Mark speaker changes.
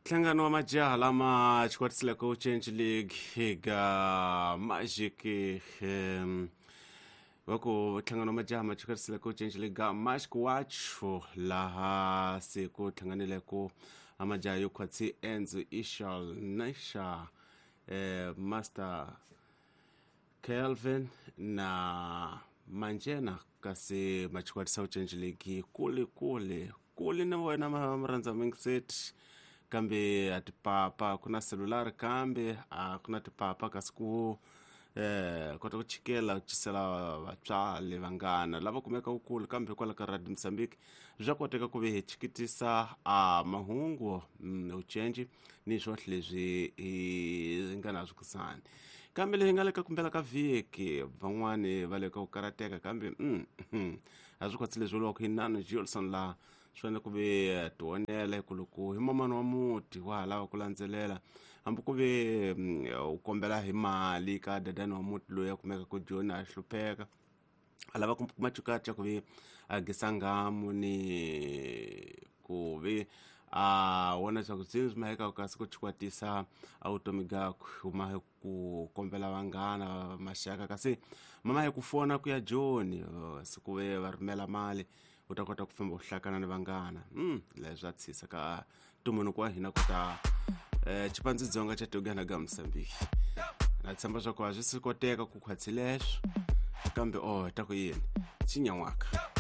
Speaker 1: Nhlangano wa majaha lama xikwatisileko Change League eka Magic va ku nhlangano wa majaha ma xikwatisileko Change League ga Magic Watch laha se ku hlanganileko a majaha yo khwatsi Enzo Ishal Nisha Master Kelvin na Manjena kasi machikwatisa u Change League kule kule kule na wena murhandza mingiseti kambe a tipapa ku na selulari kambe a ku na tipapa kasi ku kota ku chikela ku cisela vatswari vanghana lava kumeka kule kambe kwala ka Radio Mozambique bya koteka ku ve hi chikitisa a mahungu ucenji ni swohle leswi hi nga na swi kusani kambe leyi nga le ka kumbela ka vhiki van'wani va le ka ku karateka kambe a swi khotsi leswi vuriwaka hi Nano Gilson laha swi fanele ku ve tionela hi ku loko hi mamani wa muti wa ha lava ku landzelela hambi ku ve u kombela hi mali ka dadani wa muti loyi a kumeka ku joni a hlupheka a lava ku kuma cukaca ku ve a gisa ngamu ni ku ve a vona leswaku byi swi maheka kasi ku chikwatisa a vutomi gakwe huma hi ku kombela vanghana maxaka kasi mama hi ku fona ku ya joni siku ve va rhumela mali u ta kota ku famba u hlakana ni vanghana leswi swa tshisa ka ntumbuluko wa hina ku ta xipandzi dzonga xa Togana ga Mozambique na tshemba swa ku a swi si koteka ku khwatsi leswo kambe oh ta ku yini xi nyan'waka.